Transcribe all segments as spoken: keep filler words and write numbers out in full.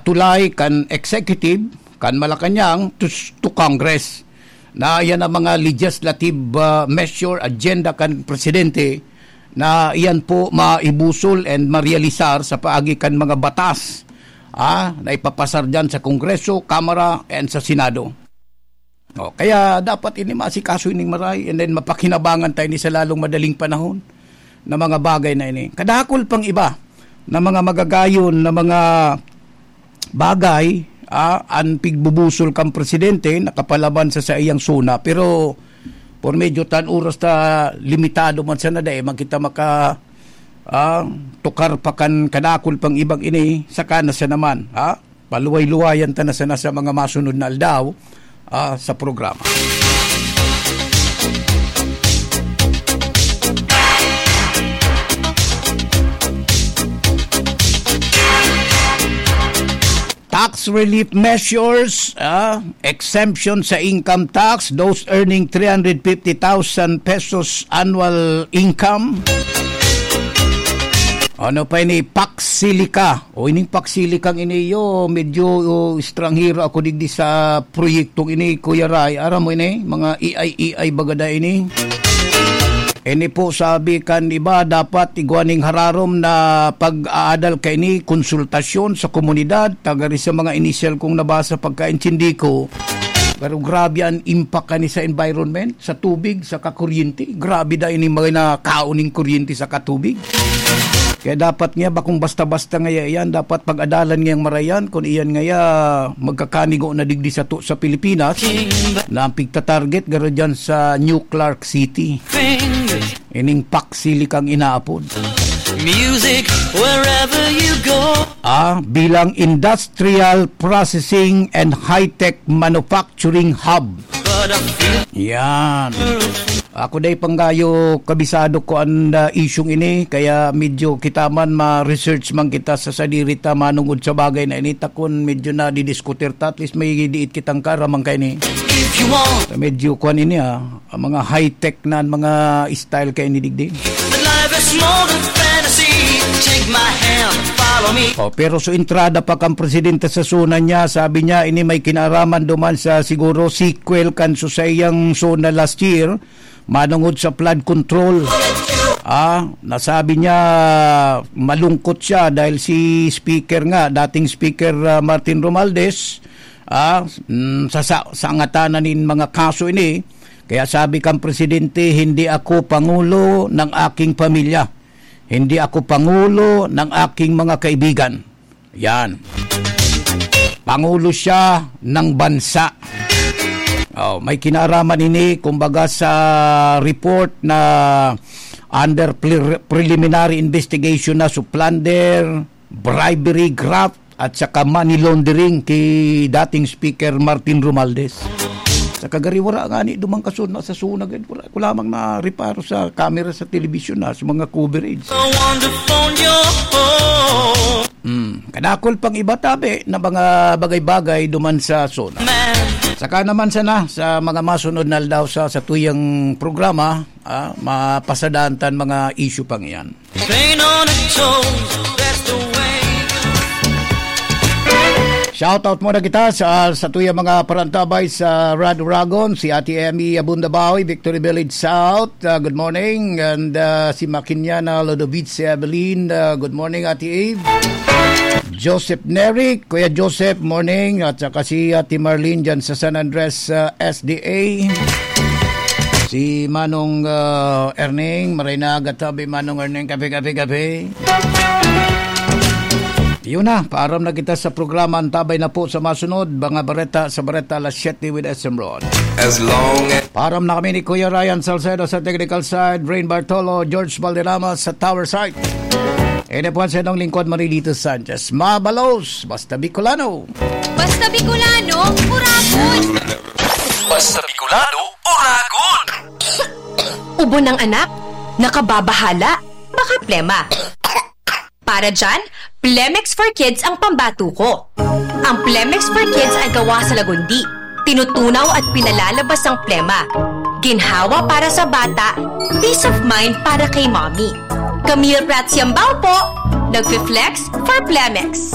tulay kan executive, kan Malacañang to, to Congress. Na iyan ang mga legislative, ah, measure, agenda kan presidente na iyan po maibusol and marealisar sa paagi kan mga batas, ah, na ipapasar diyan sa Kongreso, Kamara, and sa Senado. Oh, kaya dapat ini maasikaso ining maray and then mapakinabangan tayo ni sa lalong madaling panahon na mga bagay na ini. Kadakol pang iba na mga magagayon na mga bagay, ah, an pigbubusol kan presidente nakapalaban sa saiyang SONA. Pero por medyo tan oras ta limitado man sana dai man kita maka, ah, tukar pa kan kadakol pang ibang ini, saka na siya naman, ha? Paluway-luwayan ta na sana sa mga masunod na aldaw, ah, sa programa. Tax relief measures, ah, exemption sa income tax, those earning three hundred fifty thousand pesos annual income. Ano pa ini? Pax Silica. O, ining Pax Silicang ini, yo, medyo, o, estranghero ako digdi sa proyektong ini, Kuya Ray. Aram mo ini, mga A I, A I bagada ini. Ini po, sabi kan iba, dapat igwa ning hararom na pag-aadal kaini, konsultasyon sa komunidad, tagari sa mga inisyal kong nabasa pagkaintindi ko. Pero grabe an impact kani sa environment, sa tubig, sa kakuryente. Grabe da ini mga nakaon ning kuryente sa katubig. Kaya dapat nga, bakong basta-basta ngaya iyan, dapat pag-adalan ngayang marayan, kung iyan ngaya magkakanigo na digdi sa to, sa Pilipinas, na ang pigtatarget, garo dyan sa New Clark City. Ining Pax Silicang inaapod. Music wherever you go. Ah, bilang industrial processing and high-tech manufacturing hub. But I feel Yan. Ako day panggayo kabisado ko an, ah, isyung ini, kaya medyo kita man ma-research man kita sa sadiri ta manungod sa bagay na ini, ta kun medyo nadidiskutir ta, at least may diit kitang kaaraman kaini. If you want. Medyo kuan ini, ah, ang mga high-tech na ang mga style kaini digdi. But life is more than fantasy. Take my hand, follow me. Oh, pero so entrada pa kan presidente sa SONA niya, sabi niya, ini may kinaaraman duman sa siguro sequel kan so saiyang SONA last year, manungod sa flood control. Ah, nasabi niya malungkot siya dahil si speaker nga, dating speaker, ah, Martin Romualdez, ah, mm, sa, sa, sa angatanan nin mga kaso ini. Kaya sabi kan presidente, "Hindi ako pangulo ng aking pamilya. Hindi ako pangulo ng aking mga kaibigan." Yan. Pangulo siya ng bansa. Oh, may kinaaraman ini, kumbaga, sa report na under pre-, preliminary investigation na sa plunder, bribery, graft, at saka money laundering ki dating Speaker Martin Romualdez. Sa kagariwara nga ni, dumang kasunod sa sunag, eh, wala ko lamang na reparo sa camera sa telebisyon na, sa mga coverage. I wonder on your own. Hmm, kadakol pang iba tabi na mga bagay-bagay duman sa SONA. Man. Saka naman sana sa mga masunod na aldaw sa, sa tuyang programa, ah, mapasadaan tan mga issue pang iyan. Pain on the toes, that's the way. Shout out muna kita sa, sa tuya mga parantabay sa Rad Uragon, si Ate Emmy Abunda Bawi, Victory Village South. Uh, good morning. And, uh, si Makinyana Lodovice Evelyn. Uh, good morning, Ate Eve. Joseph Neric, Kuya Joseph, morning. At saka si Ate Marlene dyan sa San Andres, uh, S D A. Si Manong, ah, Erning, maray na aga tabi, Manong Erning, kape, kape, kape. Yun na, paaram na kita sa programa. Antabay na po sa masunod, mga bareta sa Bareta alas siyete with S M Ron. As long as Paaram na kami ni Kuya Ryan Salcedo sa technical side, Brain Bartolo, George Valderrama sa tower side. Ini po ang sa inyong lingkod, Marilito Sanchez. Mabalos, basta Bicolano. Basta Bicolano, Uragon! Basta Bicolano, Uragon! Ubo ng anak? Nakababahala? Baka plema. Para dyan, Plemex for Kids ang pambato ko. Ang Plemex for Kids ay gawa sa lagundi. Tinutunaw at pinalalabas ang plema. Ginhawa para sa bata, peace of mind para kay mommy. Camille Prats Yambao po, nagfi-flex for Plemex.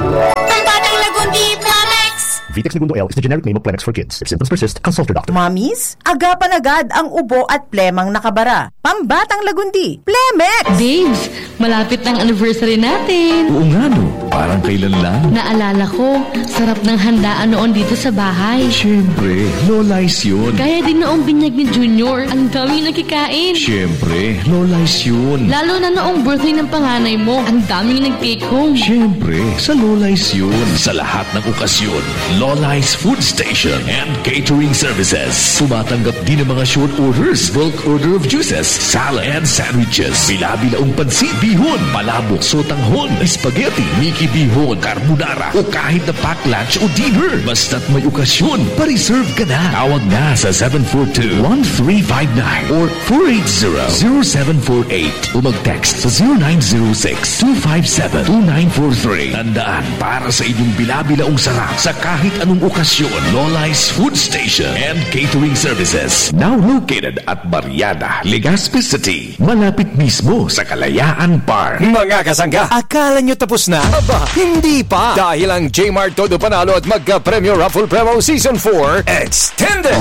Pambatang Lagundi Plamex. Vitex Negundo L is the generic name of Plamex for kids. If symptoms persist, consult your doctor. Mommies, agapan agad ang ubo at plemang nakabara. Pambatang Lagundi, Plamex! Babes, malapit na ang anniversary natin. Oo nga no, parang kailan lang. Naalala ko, sarap ng handaan noon dito sa bahay. Siyempre, Lola's yun. Gaya din noong binyag ni Junior, ang daming nakikain. Siyempre, Lola's yun. Lalo na noong birthday ng panganay mo, ang daming nag-take home. Siyempre, sa Lola's yun. Sa lahat ng okasyon, Lola's Food Station and Catering Services. Tumatanggap din ng mga short orders, bulk order of juices, salad, and sandwiches. Bila-bilaong pansit, bihon, palabok, sotanghon, spaghetti, miki bihon, carbonara, o kahit na pack lunch o dinner. Basta't may okasyon, pa-reserve ka na. Tawag na sa seven four two, one three five nine or four eight zero, zero seven four eight o mag-text sa zero nine zero six, two five seven, two nine four three. Tandaan, para sa inyong bila-bilaong sarap sa kahit anong okasyon, Lola's Food Station and Catering Services. Now located at Barriada, Legazpi City. Malapit mismo sa Kalayaan Park. Mga kasangga, akala nyo tapos na? Aba, hindi pa! Dahil ang J-Mart Todo Panalo at Magka Premyo Raffle Promo Season four Extended!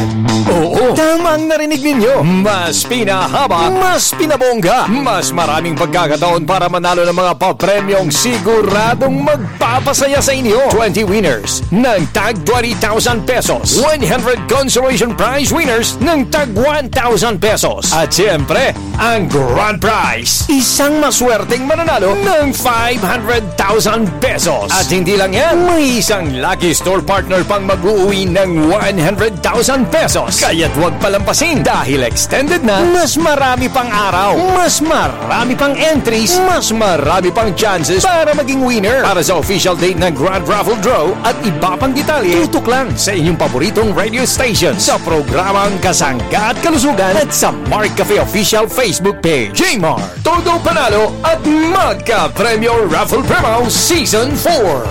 Oo, tama ang narinig ninyo. Mas pinahaba, mas pinabongga, mas maraming pagkakataon para manalo ng mga papremyong siguradong magpapasaya sa inyo. Twenty winners ng tag twenty thousand pesos, one hundred consolation prize winners ng tag one thousand pesos. At siyempre, ang grand prize, isang maswerteng mananalo ng five hundred thousand pesos. At hindi lang yan, may isang lucky store partner pang mag-uuwi ng one hundred thousand pesos. Kaya't huwag palampasin dahil extended na, mas marami pang araw, mas marami pang entries, mas marami pang chances para maging winner. Para sa official date ng Grand Raffle Draw at iba pang detalye, tutok lang sa inyong paboritong radio station sa programang Kasangga at Kalusugan at sa Mark Cafe Official Facebook page. J-Mart, Todo Panalo at Magka Premyo Raffle Promo Season four.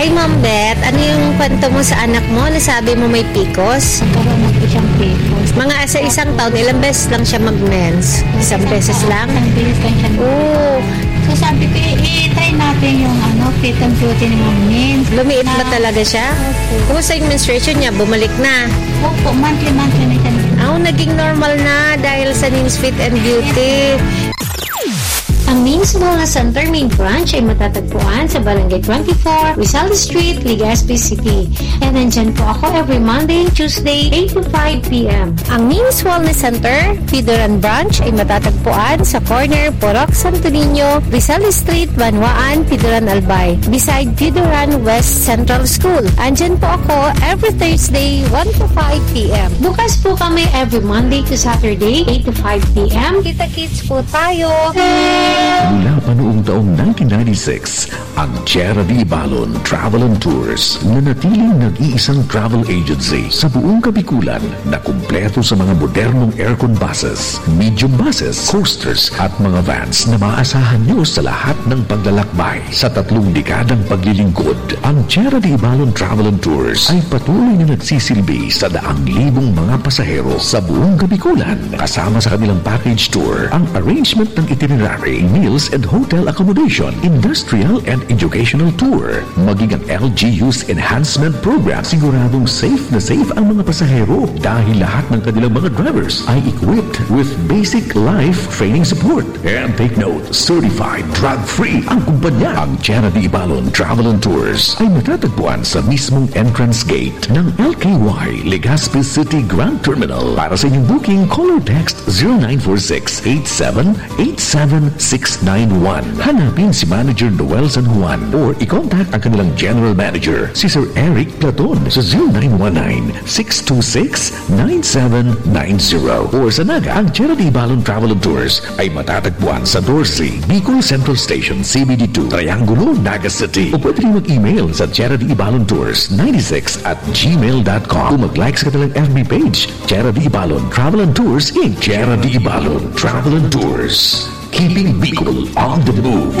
Hi, Ma'am Beth. Ano yung kwento mo sa anak mo? Nasabi mo may picos? Nagkaroon na po siyang picos. Mga sa isang taon, ilang beses lang siya mag-mens? Isang beses lang? Isang beses lang siya. Oo. So sabi ko, "I-try natin yung ano, fit and beauty ni Ma'am Mens." Lumiit ba talaga siya? Opo. Kumusta yung menstruation niya? Bumalik na? Opo, monthly-monthly na siya. Oh, naging normal na dahil sa Nins Fit and Beauty. Ang Nins Wellness Center main branch ay matatagpuan sa Barangay twenty-four, Rizal Street, Legazpi City. And nandyan po ako every Monday and Tuesday, eight to five p.m. Ang Nins Wellness Center, Pidoran Branch ay matatagpuan sa corner Purok Santo Niño, Rizal Street, Banwaan, Pidoran Albay, beside Pidoran West Central School. Andyan po ako every Thursday, one to five p.m. Bukas po kami every Monday to Saturday, eight to five p.m. Kita-kits po tayo! Mula pa noong taong nineteen ninety-six, ang Tierra de Ibalon Travel and Tours, nanatiling nag-iisang travel agency sa buong Kabikulan na kumpleto sa mga modernong aircon buses, medium buses, coasters at mga vans na maaasahan nyo sa lahat ng paglalakbay. Sa tatlong dekadang paglilingkod, ang Tierra de Ibalon Travel and Tours ay patuloy na nagsisilbi sa daang libong mga pasahero sa buong Kabikulan. Kasama sa kanilang package tour, ang arrangement ng itinerary, meals and hotel accommodation, industrial and educational tour, maging ang L G U's enhancement program, siguradong safe na safe ang mga pasahero dahil lahat ng kanilang mga drivers ay equipped with basic life training support. And take note, certified drug-free ang kumpanya. Ang Tierra de Ibalon Travel and Tours ay matatagpuan sa mismong entrance gate ng L K Y Legazpi City Grand Terminal. Para sa inyong booking, call or text zero nine four six eight seven eight seven six nine one. Hanapin si Manager Noel San Juan or i-contact ang kanilang General Manager, si Sir Eric Platon, sa zero nine one nine six two six nine seven nine zero. Or sa Naga, ang Tierra de Ibalon Travel and Tours ay matatagpuan sa doce, Bicol Central Station, C B D two, Triangulo, Naga City. O pwede rin mag-email sa Tierra de Ibalon Tours ninety-six at gmail dot com o mag-like sa kanilang F B page, Tierra de Ibalon Travel and Tours Inc. Tierra de Ibalon Travel and Tours. Keeping Bicol on the move.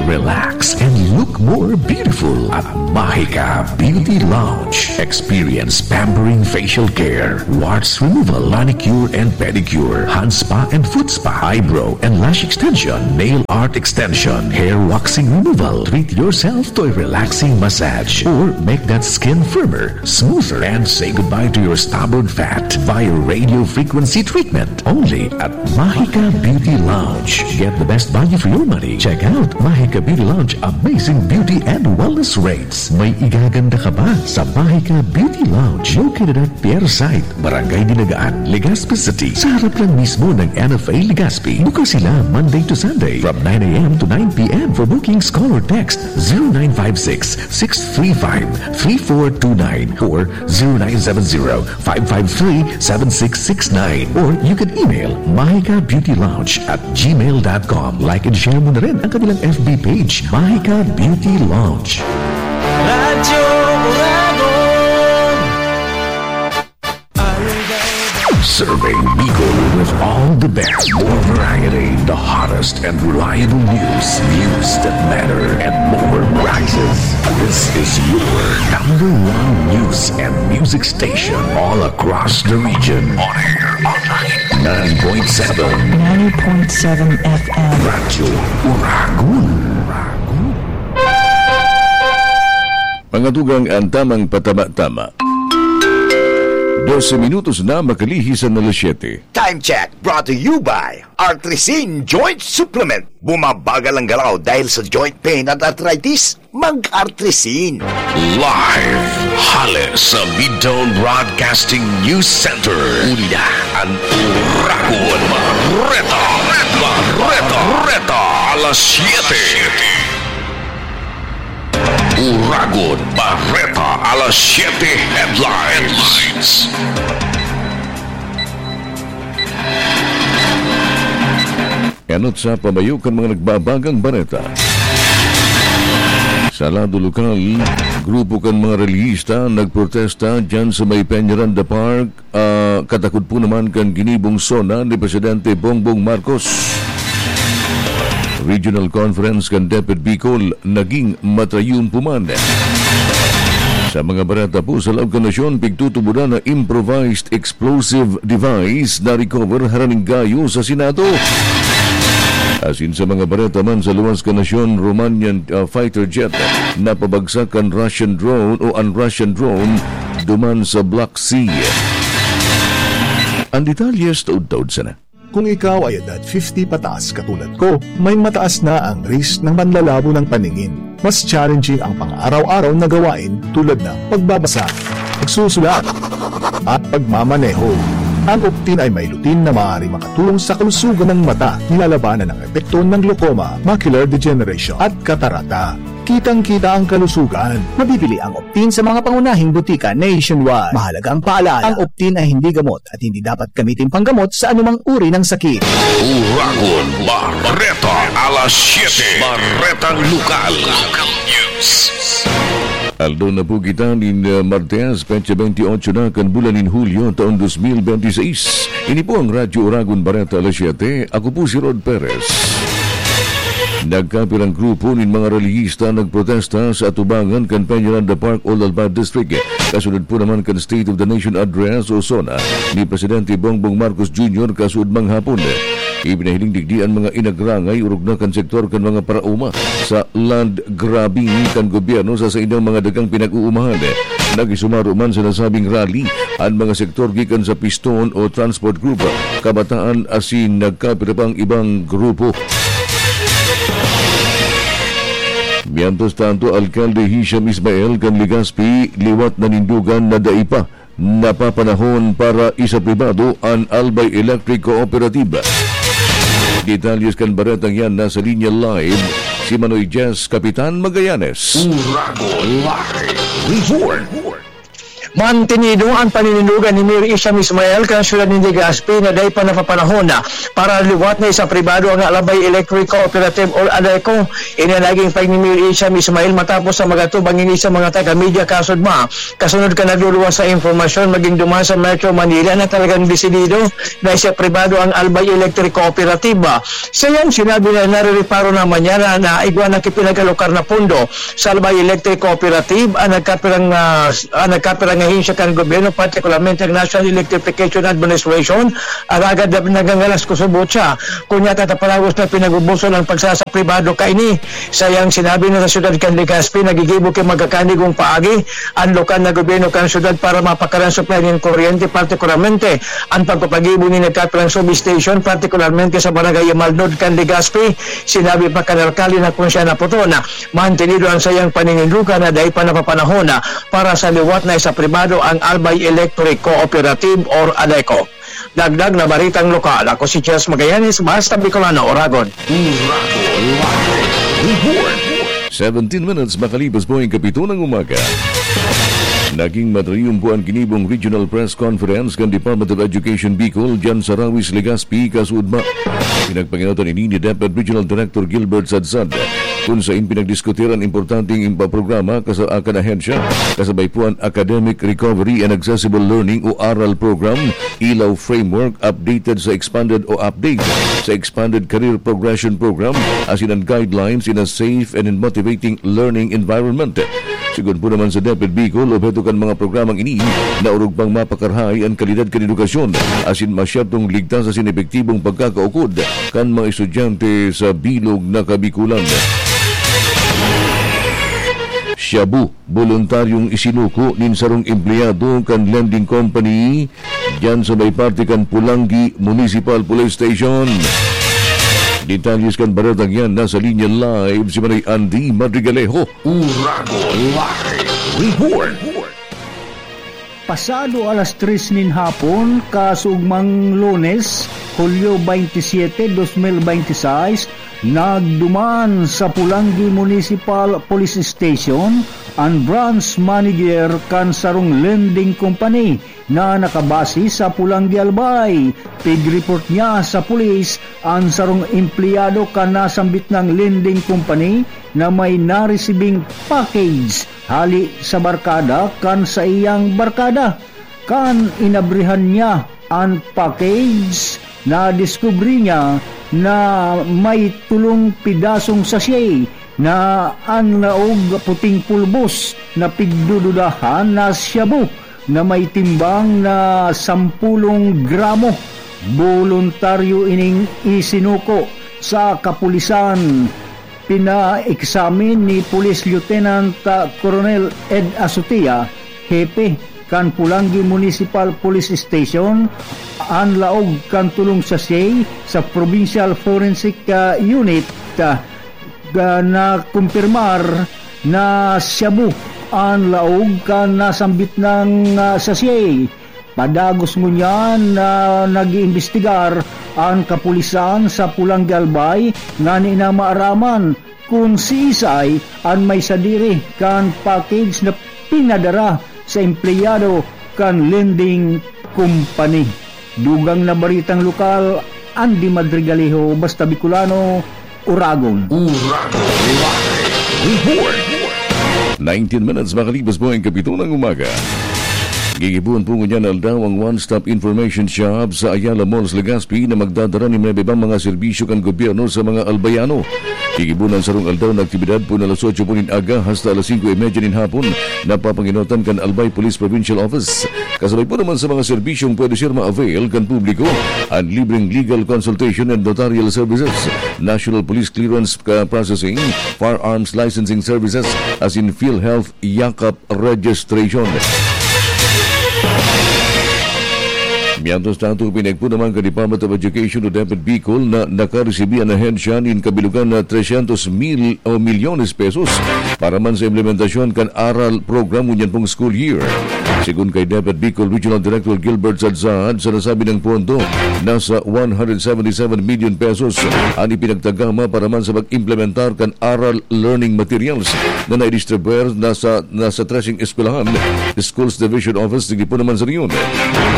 Relax and Look more beautiful at Mahika Beauty Lounge. Experience pampering facial care, warts removal, manicure and pedicure, hand spa and foot spa, eyebrow and lash extension, nail art extension, hair waxing removal. Treat yourself to a relaxing massage or make that skin firmer, smoother, and say goodbye to your stubborn fat via radio frequency treatment. Only at Mahika Beauty Lounge. Get the best value for your money. Check out Mahika Beauty Lounge amazing beauty and wellness rates. May igaganda ka ba sa Mahika Beauty Lounge? Located at Pier Site, Barangay Dinagaan, Legazpi City, sa harap lang mismo ng N F A Legazpi. Bukas sila Monday to Sunday from nine a m to nine p m. For bookings, call or text zero nine five six, six three five, three four two nine or zero nine seven zero, five five three, seven six six nine. Or you can email mahika beauty lounge at gmail dot com. Like and share mo na rin ang kanilang F B page, Mahika Beauty Lounge. Radyo Uragon. Serving Bicol with all the best, more variety, the hottest and reliable news, news that matter, and more prizes. This is your number one news and music station all across the region. On air, online, ninety point seven. Ninety point seven F M. Radyo Uragon. Mga tugang, ang tamang patama-tama. Dose minutos na makalihis an alas siyete. Time check brought to you by Artrisin Joint Supplement. Bumabagal ang galaw dahil sa joint pain at arthritis? Mag-Artrisin. Live hale sa Midtown Broadcasting News Center. Uli na an Uragon Bareta. Bareta. Bareta. Alas siyete. Uragon Bareta alas siyete headlines. Enot sa pamayo kan mga nagbabagang bareta. Sa lado lokal, grupo kan mga relihista nagprotesta dyan sa may Peñaranda Park, ah, katakod po naman kan ginibong SONA ni Presidente Bongbong Marcos. Regional Conference kan DepEd Bicol naging matayumpuman. Sa mga bareta po sa laog kan nasyon, pigtutubodan na improvised explosive device na recover haraning gayo sa Senado. Asin sa mga bareta man sa luwas kan nasyon, Romanian, ah, fighter jet napabagsak kan Russian drone o an Russian drone duman sa Black Sea. Ang detalye sa taod-taod sana. Kung ikaw ay edad fifty pataas katulad ko, may mataas na ang risk ng panlalabo ng paningin. Mas challenging ang pang-araw-araw na gawain tulad ng pagbabasa, pagsusulat, at pagmamaneho. Ang Optin ay may lutein na maaari makatulong sa kalusugan ng mata, nilalabanan ang epekto ng glaucoma, macular degeneration, at katarata. Kitang-kita ang kalusugan. Mabibili ang Optin sa mga pangunahing butika nationwide. Mahalagang paalala, ang Optin ay hindi gamot at hindi dapat gamitin panggamot sa anumang uri ng sakit. Uragon Bareta, alas siyete. Baretang Lokal. Local News. Aldaw na po kita nin, uh, Martes, petsa bentiocho na kan bulan nin Hulyo, taon dos mil benti seis. Ini po ang Radyo Uragon Bareta, alas siyete. Ako po si Rod Perez. Nagkapirang grupo nin mga relihista nagprotesta sa atubangan kan Peñaranda Park, Olalba District. Kasunod po naman kan State of the Nation Address o SONA ni Presidente Bongbong Marcos Junior kasuodmang hapon. Ipinahiling digdi an mga inagrangay orog na kan sektor kan mga paraoma sa land grabbing kan gobyerno sa saindang mga dagang pinag-uumahan. Nag-isumaro man sa nasabing rally an mga sektor gikan sa Piston o Transport Group, Kabataan asin nagkapira pang ibang grupo. Mientras tanto, Alkalde Hisham Ismael kan Legazpi, liwat nanindogan na dai pa napapanahon para isapribado an Albay Electric Cooperative. Detalyes kan baretang yan nasa linya live si Manoy Jess Kapitan Magallanes. Uragon Live Report. Mantinido an paninindogan ni Mayor Isham Ismael kan siyudad nin Legazpi na dai pa napapanahon na para liwat na sa pribado ang Albay Electric Cooperative or ADECO. Ini an naging pahayag ni Mayor Isham Ismael matapos sa magatubang ini sa mga taga-media kasudma. Kasunod kan nagluluwas sa impormasyon, maging duman sa Metro Manila na talagang desidido na isapribado ang Albay Electric Cooperative. Sa iyang sinabi na narireparo naman niya na, na igwa na kipinag-alokar na pondo sa Albay Electric Cooperative ang nagkapirang, ah, ang nagkapirang ahensya kan gobyerno, partikularmente ang National Electrification Administration, alagad na nagangalas kusubot siya. Kunya tatapalagos na pinag-ubusan ang pagsasapribado kaini. Sa iyang sinabi na sa siyudad kan Legazpi, nagigibo ki magkakanigong paagi ang lokal na gobyerno kan siyudad para mapakaran supply nin kuryente, partikularmente ang pagpapagibo ni nagkapirang substation, partikularmente sa Barangay Maldod kan Legazpi. Sinabi pa kan alkalde na kung siya naputon, mantinido ang sayang paninindugan na dai pa napapanahon para sa liwat na isapribado ang Albay Electric Cooperative or ADECO. Dagdag na baritang lokal, ako si Jess Magallanes, Basta Bicolano, Oragon. Uragon Live Report. Seventeen minutes makalipas po ang kapito ng umaga. Naging matriyumpo ang kinibong Regional Press Conference kan Department of Education Bicol dyan sa Rawis, Legazpi, kasuodma. Pinagpanginotan ini ni DepEd Regional Director Gilbert Sadsad, kung sain pinagdiskutiran importanteng impaprograma kasa akan ahensya, kasabay po ang Academic Recovery and Accessible Learning o aral program, Ilaw Framework, updated sa expanded o update sa expanded career progression program, asin ang guidelines in a safe and motivating learning environment. Sigon po naman sa DepEd Bicol, obheto kan mga programang ini na orog pang mapakarahay an kalidad kan edukasyon, asin masyadtong ligtas asin epektibong pagkakaukod kan mga estudyante sa bilog na Kabikulan. Shabu, boluntaryong isinuko nin sarong empleyado kan lending company diyan sa may parte kan Pulangi Municipal Police Station. Detalles kan baretang yan, nasa linya live si Manay Andy Madrigalejo. Uragon Live Report. Pasado alas tres nin hapon, kasuugmang Lunes, Hulyo twenty-seven, dos mil binte y seis, nagduman sa Pulangi Municipal Police Station an branch manager kan sarong lending company na nakabase sa Pulangi, Albay. Pig-report niya sa pulis an sarong empleyado kan nasambit nang lending company na may naresibing package hali sa barkada kan saiyang barkada. Kan inabrihan niya an package, nadiskubre niya na may tolong pidasong sachet na an laog puting pulbos na pigdududahan na shabu na may timbang na sampulong gramo. Boluntaryo ining isinuko sa kapulisan. Pina-examine ni Police Lieutenant, ah, Colonel Ed Azutia, hepe kan Pulangi Municipal Police Station, an laog kan tolong sachet sa Provincial Forensic, ah, Unit, ah, ga-, na kumpirmar na shabu an laog kan nasambit nang, ah, sachet. Padagos ngunyan na nag-iimbestigar an kapulisan sa Pulangi, Albay, ngani na maaraman kun siisay an may sadiri kan package na pinadara sa empleyado kan lending company. Dugang na baritang lokal, Andy Madrigalejo, Basta Bicolano, Uragon. Uragon Live Report. Nineteen minutes makalipas po ang kapito ng umaga. Gigibuhan po ngunyan na aldaw ang One Stop Information Shop sa Ayala Malls, Legazpi, na magdadara nin iba-ibang mga serbisyo kan gobyerno sa mga Albayano. Gigibuhan ang sarong aldaw na aktibidad po na alas otso po nin aga hasta alas singko y media nin hapon, na papanginotan kan Albay Police Provincial Office. Kasabay po naman sa mga serbisyong pwede siya ma-avail kan publiko, ang libreng legal consultation and notarial services, National Police Clearance, uh, Processing, Firearms Licensing Services, asin PhilHealth Yakap Registration. Mientras tanto, pinagpo naman kan Department of Education o DepEd Bicol na nakaresibi an ahensya nin kabilogan na tresyentos mil o milyones pesos para man sa implementasyon kan aral program ngunyan pong school year. Sigon kay DepEd Bicol Regional Director Gilbert Sadsad, sa nasabi niyang pondo, nasa one hundred seventy-seven million pesos an ipinagtagama para man sa pag-implementar kan aral learning materials na naidistribuer na sa, na sa trese eskwelahan, Schools Division Office, digdi po naman sa Leon.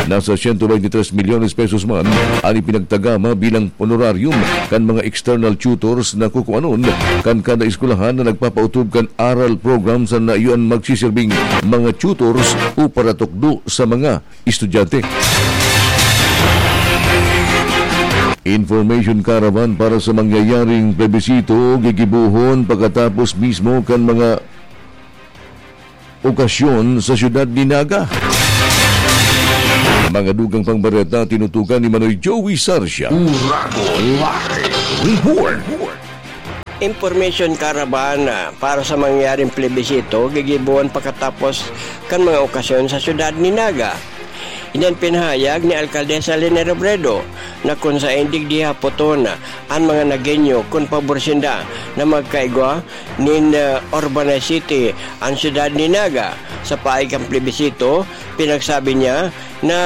Nasa siyento beintitres milyones pesos man an ipinagtagama bilang honorarium kan mga external tutors na kukuanon kan kada eskwelahan na nagpapautob kan aral program sa na iyan magsisirbing mga tutors o paratukdo sa mga estudyante. Information caravan para sa mangyayaring plebisito gigibohon pagkatapos mismo kan mga okasyon sa siyudad ni Naga. Mga dugang pang bareta tinutukan ni Manoy Joey Sarsia. Uragon Live Report. Information caravan para sa mangyayaring plebisito gigibohon pagkatapos kan mga okasyon sa siyudad ni Naga. Iyan pinahayag ni Alkaldesa Leni Robredo na kun saen digdi hapoton an mga Nagueño kun pabor sinda na magkaigwa nin, ah, urbanized city an siyudad ni Naga. Sa paagi kan plebisito, pinagsabi niya na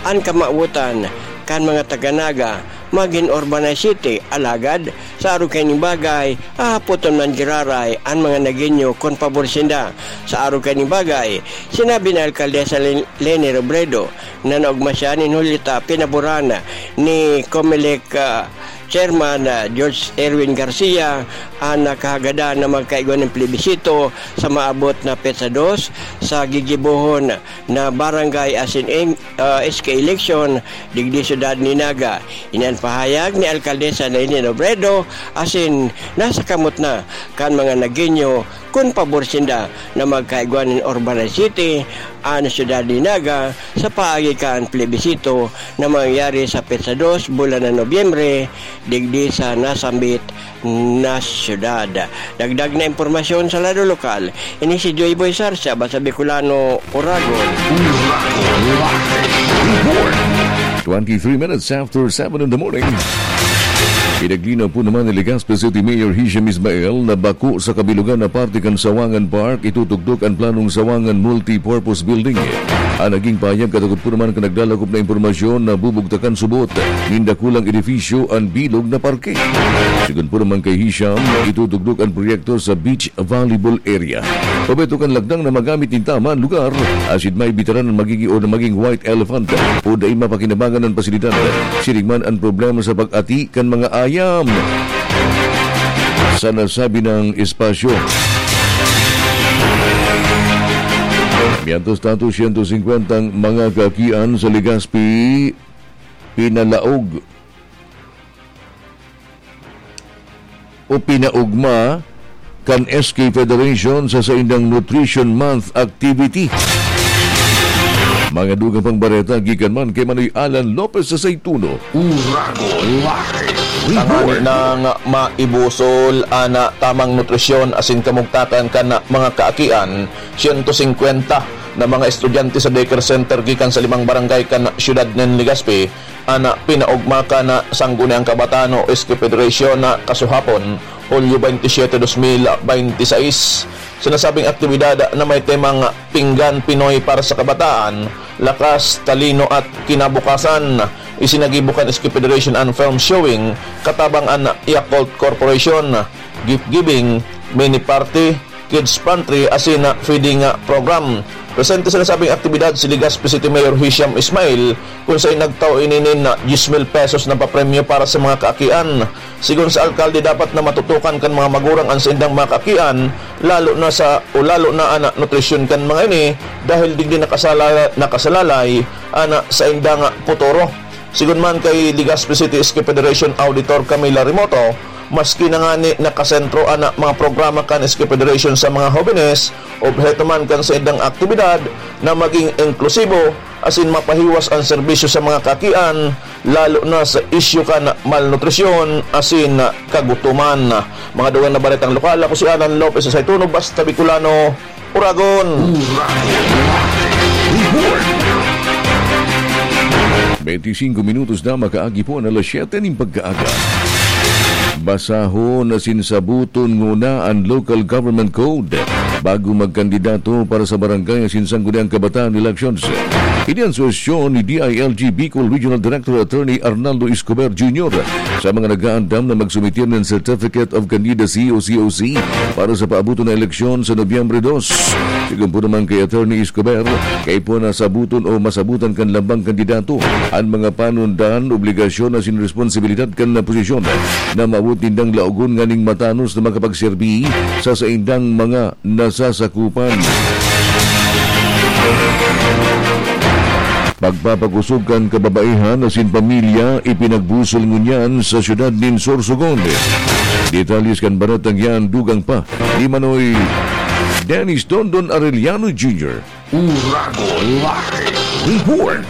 an kamawotan kan mga taga-Naga magin urbanized city, alagad sa arog kaining bagay, hahapoton man giraray an mga Nagueño kun pabor sinda. Sa arog kaining bagay, sinabi ni Alkaldesa Len-, Leni Robredo na naogma siya nin Julio ta pinaboran ni Comelec, ah, Chairman, ah, George Erwin Garcia an nakahagadan na magkaigwa nin plebisito sa maabot na petsa dos sa gigibohon na barangay asin, ah, S K election digdi siyudad ni Naga. Ini an pahayag ni Alkaldesa Leni Robredo asin nasa kamot na kan mga Nagueño kun pabor sinda na magkaigwa nin urbanized city an siyudad ni Naga sa paagi kan plebisito na mangyayari sa petsa dos bulan na Nobyembre digdi sa nasambit na siyudad. Dagdag na impormasyon sa lado lokal, ini si Joy Boy Sarsia, Basa Bicolano, Oragon. Twenty-three minutes after seven in the morning. Pinaglinaw po naman ni Legazpi City Mayor Hisham Ismail na bako sa kabilugan na parte kan Sawangan Park itutugdok an planong Sawangan Multi-Purpose Building. An naging pahayag katakot po naman kan naglalakop na impormasyon na bubugtakan subot nin dakulang edifisyo an bilog na parke. Sigon po naman kay Hisham, itutugdok an proyekto sa beach volleyball area. Pabeto kan lagdang na magamit nin tama an lugar, asin may bitaran an magigi o na maging white elephant o dai mapakinabangan an pasilidad. Siring man an problema sa pag-ati kan mga ayam sa nasabi nang espasyo. Mientras tanto, siyento singkwentang mga kaakian sa Legazpi pinalaog o pinaugma kan S K Federation sa saindang Nutrition Month activity. Mga dugang pang bareta gikan man kay Manoy Alan Lopez sa Saytuno. Uragon Live Report. Tanganing maibusol an tamang nutrisyon asin kamugtakan kan mga kaakian, siyento singkwenta na mga estudyante sa daycare center gikan sa limang barangay kan siyudad nin Legazpi an pinaugma kan Sangguniang Kabataan o S K Federation na kasuhapon, Hulyo twenty-seven, dos mil bente seis. Sa nasabing aktibidad na may temang Pinggan Pinoy para sa Kabataan, Lakas, Talino at Kinabukasan, isinagibo kan S K Federation an film showing katabang an Yakult Corporation, gift giving, mini party, kids pantry asin feeding program. Presente sa nasabing aktibidad si Legazpi City Mayor Hisham Ismail, kun saen nagtao ini nin diyes mil pesos na papremyo para sa mga kaakian. Sigon sa alkalde, dapat na matutukan kan mga magurang an saindang mga kaakian, lalo na sa, o lalo na an nutrisyon kan mga ini, dahil digdi nakasala-, nakasalalay an saindang futuro. Sigon man kay Legazpi City S K Federation Auditor Camila Remoto, maski na ngani nakasentro an mga programa kan S K Federation sa mga hobenes, obheto man kan saindang aktibidad na maging inklusibo asin mapahiwas an serbisyo sa mga kaakian, lalo na sa isyu kan malnutrisyon asin kagutoman. Mga dugang na baretang lokal, ako si Alan Lopez sa Saituno, Basta Bicolano, Uragon. Uragon. Report. Bente singko minutos na makaagi po an alas siyete nin pagkaaga. Basahon asin saboton nguna an Local Government Code. bago magkandidato para sa barangay asin sangguniang kabataan elections. Ini an suhestyon ni D I L G Bicol Regional Director Attorney Arnaldo Escobar Junior sa mga nag-aandam na magsumitir nin Certificate of Candidacy o C O C para sa paabuton na eleksyon sa Nobyembre dos. Sigon po naman kay Attorney Escobar, kaipuhan na sabuton o masabutan kan lambang kandidato an mga panundan, obligasyon asin responsibilidad kan posisyon na maabot nindang laogon nganing matanos na makapagserbi sa saindang mga nasasakupan. Pagpapakosog kan kababaihan asin pamilya ipinagbusol ngunyan sa siyudad nin Sorsogon. Detalles kan baretang yan dugang pa ni Manoy Dennis Dondon Arellano Junior. Uragon Live Report.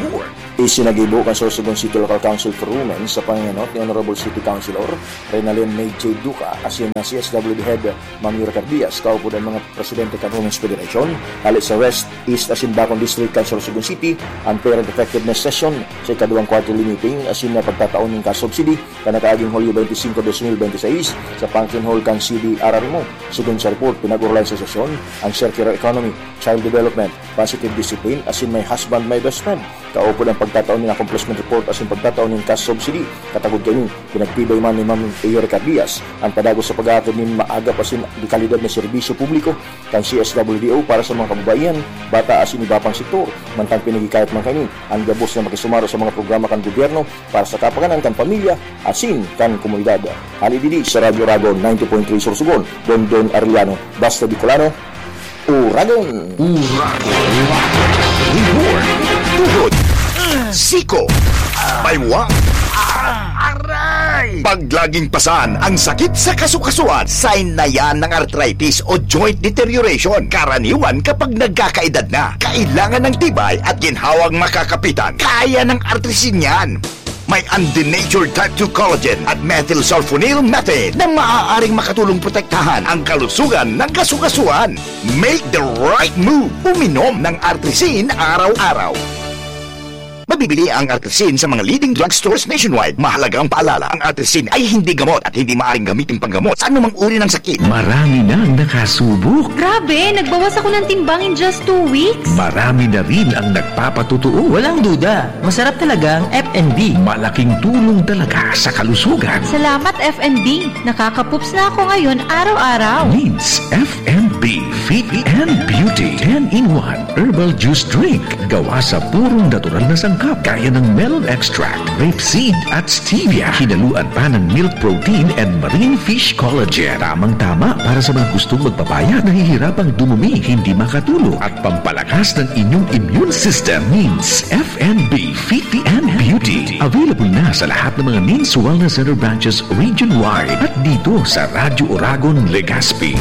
Isinagibo kan Sorsogon City Local Council for Women sa pangenot ni Honorable City Councilor Renalyn May J Duca asin na C S W D Head Ma'am Yura Cardias, kaupod an mga presidente kan Women's Federation, hale sa West, East asin Bacon District kan Sorsogon City, an Parent Effectiveness Session sa ikaduwang quarterly meeting asin na pagtataon nin cash subsidy kan nakaaging Hulyo twenty-cinco, dos mil bente seis sa Function Hall kan C D R R M O. Sigon sa report, pinag-orolayan sa sesyon an circular economy, child development, positive discipline, asin my husband, my best friend. Kaupod an pagtataon nin accomplishment report asin pagtataon nin cash subsidy. Katagod kaini, pinagtibay man ni Ma'am Yuri Cardias an padagos sa pag-aatod nin maagap asin de kalidad na serbisyo publiko kan C S W D O para sa mga kababaihan, bata asin iba pang sektor. Mantang pinaghikayat man kaini an gabos na makisumaro sa mga programa kan gobyerno para sa kapakanan kan pamilya asin kan komunidad. Hali digdi sa Radyo Uragon ninety point three Sorsogon, Dondon Arellano, basta Bicolano, Uragon. Uragon. Report. Tuhod. Siko. Baywa. Aray! Pag laging pasan ang sakit sa kasukasuan, sign na yan ng arthritis o joint deterioration. Karaniwan kapag nagkakaedad na, kailangan ng tibay at ginhawang makakapitan. Kaya ng Artrisin yan. May undenatured type two collagen at methylsulfonyl methane na maaaring makatulong protektahan ang kalusugan ng kasukasuan. Make the right move. Uminom ng Artrisin araw-araw. Mabibili ang Artrisin sa mga leading drugstores nationwide. Mahalagang paalala, ang Artrisin ay hindi gamot at hindi maaaring gamitin panggamot sa anumang uri ng sakit. Marami nang nakasubok. Grabe, nagbawas ako ng timbang in just two weeks. Marami na rin ang nagpapatotoo. Walang duda, masarap talaga ang F and B. Malaking tulong talaga sa kalusugan. Salamat, F and B. Nakakapups na ako ngayon araw-araw. Mints F and B Fit and Beauty ten-in-one Herbal Juice Drink. Gawa sa purong natural na sangkap, gaya ng melon extract, rape seed, at stevia. Hinaluan pa ng milk protein and marine fish collagen. Tamang-tama para sa mga gustong magpapayat, nahihirapang dumumi, hindi makatulog, at pampalakas ng inyong immune system. Mints F and B Fit and Beauty. Available na sa lahat ng mga Mints Wellness Center branches region-wide at dito sa Radyo Uragon, Legazpi.